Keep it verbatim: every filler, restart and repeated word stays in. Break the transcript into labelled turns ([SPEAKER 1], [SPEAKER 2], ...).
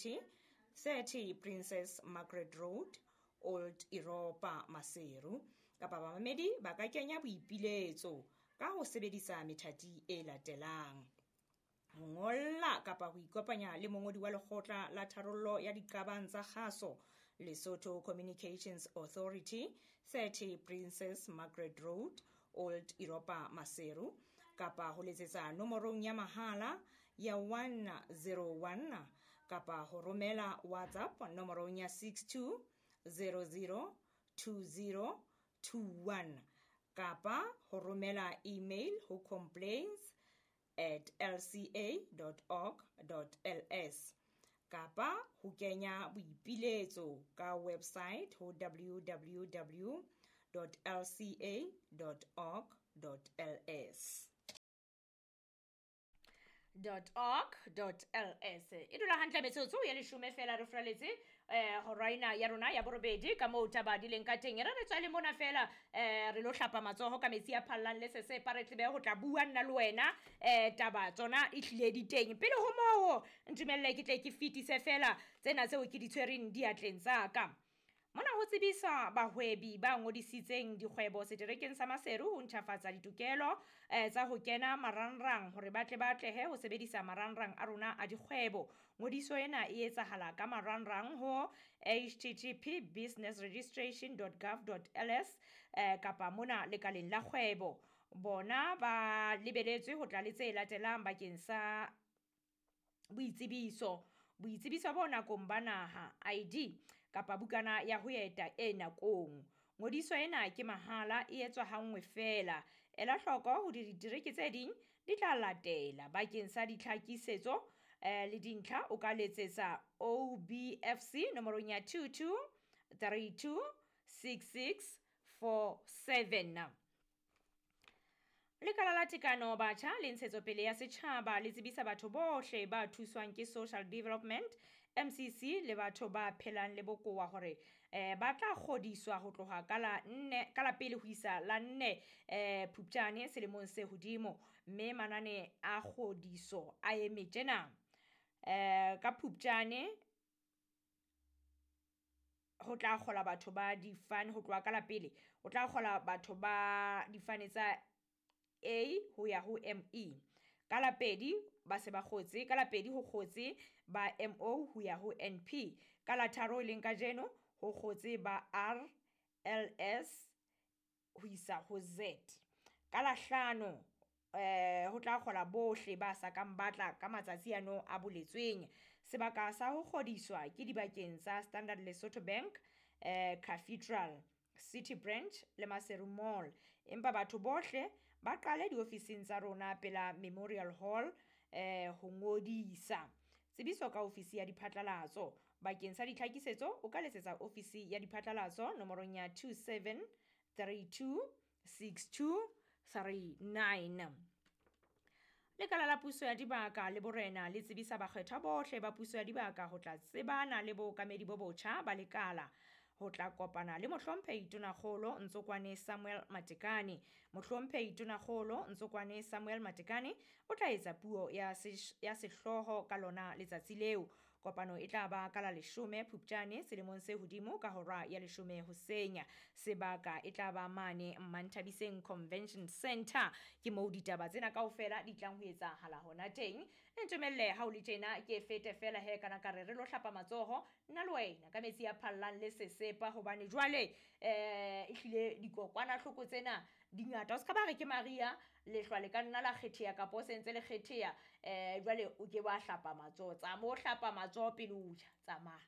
[SPEAKER 1] Authority, thirty Princess Margaret Road, Old Europa, Maseru. Kapa bamamedi ba ka kenya boipiletso ka ho sebedisa methati e latelang: ho ngolla kapa ho ikopanya le mongodi wa lekgotla la tharollo ya diqabang tsa kgaso, Lesotho Communications Authority, thirty Princess Margaret Road, Old Europa, Maseru, kapa ho letsetsa nomorong ya mahala ya one zero one kapa ho romela WhatsApp nomorong ya six two zero zero two zero two one kapa ho romela email ho complaints at l c a dot org dot l s kapa ho kenya boipiletso ka website ho w w w dot l c a dot org dot l s. dot org dot l s. E dula hantle metsotso ya leshome fela re furaletse, eh, hora ena ya rona ya borobedi ka moo taba di leng ka teng. E re re tswale mona fela, eh, re lo hlapa matsoho ka metsi a phallang le sesepa, re tlebe ho tla bua nna le wena, eh, taba tsona e hlile di teng. Pele ho moo, ntumelle ke tle ke fetise fela tsena tseo ke di tshwereng diatleng tsa ka. Mona ho tsebisa bahwebi ba ngodisitseng dikgwebo seterekeng sa Maseru ho ntjhafatsa ditokelo, eh, tsa ho kena marangrang hore ba tle ba atlehe ho sebedisa marangrang a rona a dikgwebo. Ngodiso ena e etsahala ka marangrang ho H T T P business registration dot gov dot L S, eh, kapa mona lekaleng la kgwebo. Bona ba lebeletswe ho tla le tse latelang bakeng sa boitsebiso. Boitsebiso bo nakong ba naha, I D, kapa bukana ya ho eta e nakong. Ngodiso ena ke mahala, e etswa hanngwe feela. Ela hloko hore ditereke tse ding di tla latela. Bakeng sa ditlhakisetso, eh, le dintlha, o ka letsetsa O B F C nomorong ya two two three two six six four seven. Lekala la Tekano Batjha le Ntshetsopele ya Setjhaba le tsebisa batho bohle ba thuswang ke Social Development M C C le batho ba phelang le bokowa hore, eh, ba tla kgodiswa ho tloha ka la nne, ka la pele ho isa la nne, eh, Phupjane selemong se hodimo, mme manane a kgodiso a eme tjena. Eh, ka Phupjane ho tla kgola batho ba difane ho tloha ka la pele, ho tla kgola batho ba difane tsa A ho ya ho M E. Ka la pedi ba se ba kgotse, ka la pedi ho kgotse ba M O ho ya ho N P. Ka la tharo e leng kajeno ho kgotse ba R L S ho isa ho Z. Ka la hlano, eh, ho tla kgola bohle ba sa kang ba tla ka matsatsi ano a boletsweng. Sebaka sa ho kgodiswa ke dibakeng tsa Standard Lesotho Bank, eh, Cathedral, City Branch le Maseru Mall. Empa batho bohle ba qale diofising tsa rona pela Memorial Hall, eh, ho ngodisa. Tsebiso ka ofisi ya diphatlalatso. Bakeng sa ditlhakisetso, o ka letsetsa ofisi ya diphatlalatso nomorong ya two seven three two six two three nine. Lekala la puso ya dibaka le borena le tsebisa bakgethwa bohle ba puso ya dibaka ho tla tsebana le bookamedi bo botjha ba lekala. Ho tla kopana le mohlomphehi Tonakgolo Ntsokwane Samuel Matekane. Mohlomphehi Tonakgolo Ntsokwane Samuel Matekane o tla etsa puo ya sesh-, ya sehlooho ka lona letsatsi leo. Kopano e tla ba ka la leshome Phupjane selemong se hodimo ka hora ya leshome hoseng. Sebaka e tla ba mane Manthabiseng Convention Center. Ke moo ditaba tsena kaofela di tlang ho etsahala hona teng. Ntumelle ha o le tjena ke fete fela he kana ka re re lo hlapa matsoho nna le wena ka metsi a phallang le sesepa, hobane jwale, eh, ehlile dikokwanahloko tsena di ngata. O ska ba re ke Maria, lehlwa le ka nna la kgetheha kapa o sentse le kgetheha, eh, jwale o ke wa hlapa matsoho. Tsamaya o hlapa matsoho pele o ja, tsamaya.